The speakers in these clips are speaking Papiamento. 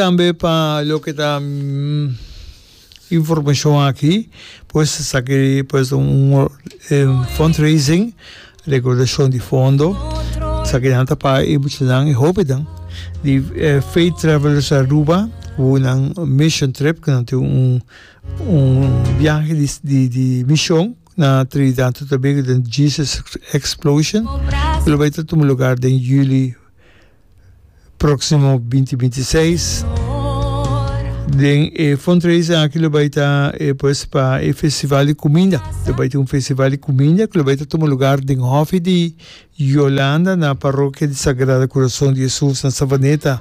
Tambe pa loke ta informacion aki, pues esaki pues un fundraising, recaudacion di fondo, esakinan ta pa e muchanan, e hobennan di Faith Travelers Aruba ku nan mission trip, ku nan tin un un biahe di di mision na Trinidad y Tobago den Jesus Explosion, ku lo bai ta tuma lugar den juli. Próksimo binti binti seis. Den e fundraising aki lo bai ta e pues pa e festival di kuminda. Lo bai tin un festival di kuminda ku lo bai ta tuma lugar den hòfi di Yolanda na Parokia di Sagrado Kurason di Hesus na Savaneta.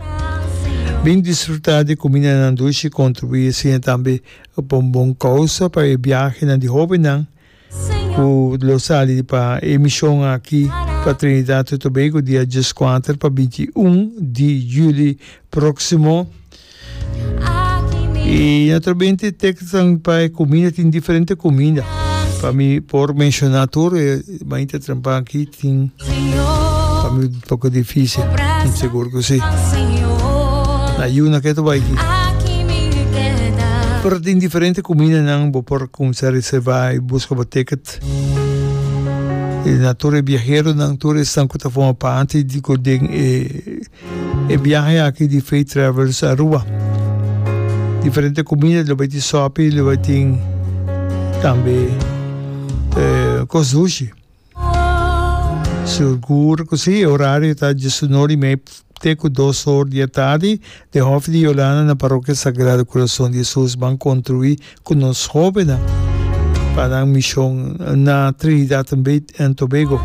Bin disfrutá di kumindanan dushi i kontribuí asina tambe pa un bon kousa pa e biahenan di hóbennan. Ku lo sali pa e mishon aki pa Trinidad y Tobago dia dieskuater pa 21 di juli próksimo. I naturalmente tekstnan pa e kuminda tin diferente kuminda. Pa mi por menshoná tur e mainta trempan aki tin pa mi un poko difísil. Sigur ku si. Na yuna ke ta bai aki. Pero tin diferente kumindanan bo por Cuminsa reserva y busca bo ticket. Y na tur e biaheronan, tur esnan cu ta forma parti di cu den e e biahe aki di Faith Travels Aruba. Diferente cuminda, lo bay tin sopi, lo bay tin tambe cos dushi. Sigur cu si, e horario ta diesunor y mei te cu dos or di e tardi den Hof di Yolanda na Parokia Sagrado Curason di Jesus. Ban contribui cu nos hobennan pa nan mision na Trinidad and Tobago.